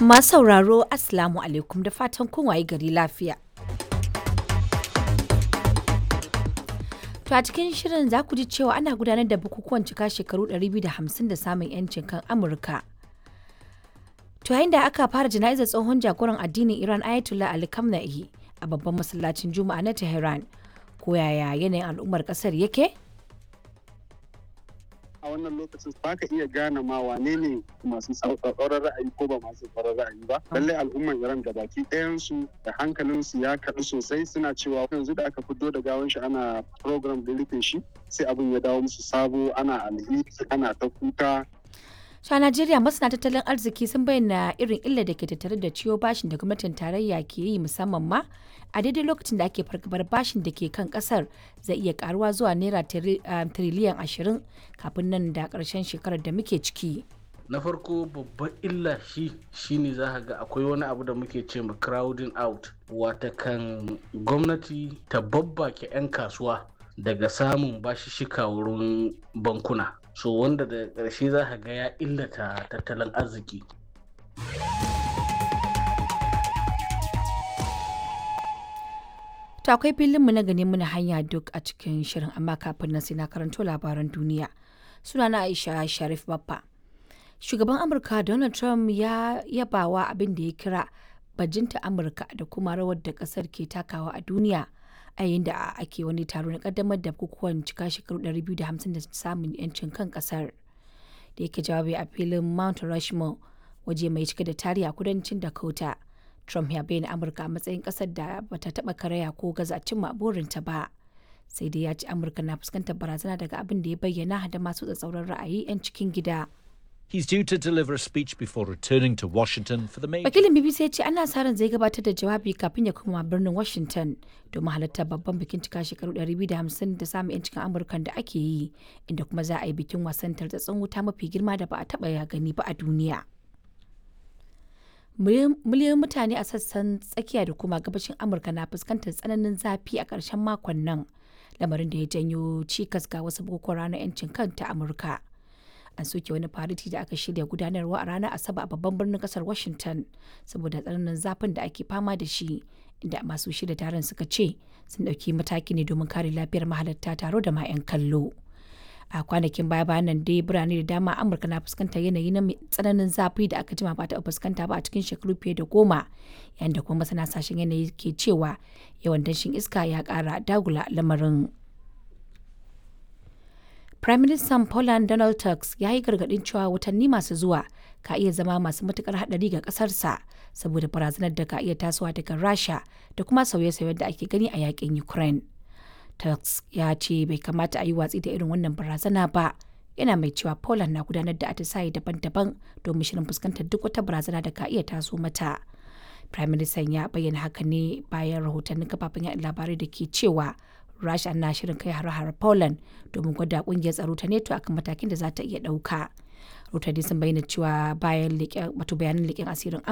Masu sauraro, Assalamu alaikum, da fatan kun wayi gari lafiya. To a cikin shirin za ku ji cewa ana gudanar da bukukuwan cika shekaru 250 da samun 'yancin kan Amurka. To yayin da aka fara jana'izar tsohon jagoran addinin Iran Ayatollah Ali Khamenei a babban masallacin Juma'a na Tehran. Ko yaya yanayin al'ummar kasar yake? A wannan lokacin ba ka iya gane ma wane ne masu tsauraran ra'ayi ko ba masu tsauraran ra'ayi ba. Lallai al'umman Iran da baki ɗayansu da hankalinsu ya kaɗu sosai, suna cewa yanzu da aka fito da gawan shi ana program da rufe shi, sai abin ya dawo musu sabo, ana alheri, ana ta kuka. To a Najeriya, masana tattalin arziki sun bayyana irin illar da ke tattare da ciwo bashin da gwamnatin tarayya ke yi, musamman ma a daidai lokacin da ake fargabar bashin da ke kan kasar zai iya karuwa zuwa naira tiriliyan 20 kafin nan da karshen shekarar da muke ciki. Na farko, babban illa shi shine za ka ga akwai wani abu da muke ce ma crowding out, watakan gwamnati ta babbake 'yan kasuwa daga samun bashishika wurin bankuna, so wanda da ƙarshe za ka ga ya illata tattalin arziki. To akwai filinmu na gani muna hanya duk a cikin shirin, amma kafin nan sai na karanto labaran duniya. Sunana Aisha Sharif Baffa. Shugaban Amurka Donald Trump ya yabawa abin da ya kira bajinta Amurka da kuma rawar da kasar ke takawa a duniya a yayin da ake wani taro na kaddamar da bukukuwan cika shekaru 250 da samun yancin kan kasar. Da yake jawabi a filin Mount Rushmore, waje mai cike da tarihi a kudancin Dakota, Trump ya bayyana Amurka a matsayin kasar da bata taba karaya ko gaza cimma burinta ba. Sai dai ya ce Amurka na fuskantar barazana daga abin da ya bayyana da masu tsatsauran ra'ayi 'yan cikin gida. He's due to deliver a speech before returning to Washington for the major. Wakilin BBC ya ce ana sa ran zai gabatar da jawabi kafin ya koma birnin Washington domin halartar babban bikin cika shekaru 250 da samun 'yancin Amurkan da ake yi, inda kuma za a yi bikin wasan tartsatsin wuta mafi girma da ba a taɓa ya gani ba a duniya. Miliyoyin mutane a sassan tsakiya da kuma gabashin Amurka na fuskantar tsananin zafi a ƙarshen makon nan, lamarin da ya janyo cikas ga wasu bukukuwan ranar 'yancin kanta Amurka. An soke wani fariti da aka shirya gudanarwa a ranar Asabar a babban birnin kasar Washington saboda tsananin zafin da ake fama da shi, inda masu shirya taron suka ce sun ɗauki mataki ne domin kare lafiyar mahalarta taro da ma 'yan kallo. A kwanakin baya bayan nan dai, birane da dama Amurka na fuskantar yanayi na tsananin zafi da aka jima ba ta fuskanta ba a cikin shekaru fiye da 10, yayin da kuma masana sashen yanayi ke cewa yawan danshin iska ya kara dagula lamarin. Prime Minister Poland Donald Tusk ya yi gargaɗin cewa watanni masu zuwa ka iya zama masu matukar haɗari ga ƙasarsa saboda barazanar da ka iya tasowa daga Rasha da kuma sauye-sauyen da ake gani a yakin Ukraine. Tusk ya ce bai kamata a yi watsi da irin wannan barazana ba, yana mai cewa Poland na gudanar da atisaye daban-daban domin shirin fuskantar duk wata barazana da ka iya taso mata. Prime Minister ya bayyana haka ne bayan rahotannin kafafen yaɗa labarai da ke cewa Rasha na shirin kai hare-hare Poland domin gwada kungiyar tsaro ta NATO akan matakin da za ta iya ɗauka. Rahotanni sun bayyana cewa bayan wato bayanan leƙen asirin